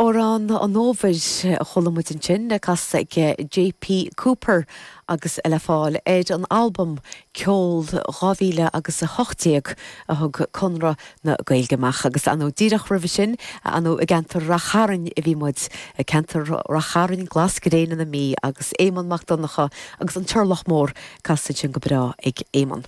Amhrán an Fhómhair a chuala muid ansin, casta ag JP Cooper agus le fáil ar an albam Ceol 2000 agus 18 a thug Conradh na Gaeilge amach. Agus ar ndóigh díreach roimhe sin, ar ndóigh i gceantar Rath Chairn a bhí muid, ceantar Rath Chairn, Glas Gréine na Mí agus Éamonn Mac Donncha agus an Turlach Mór casta ansin go breá ag Éamonn.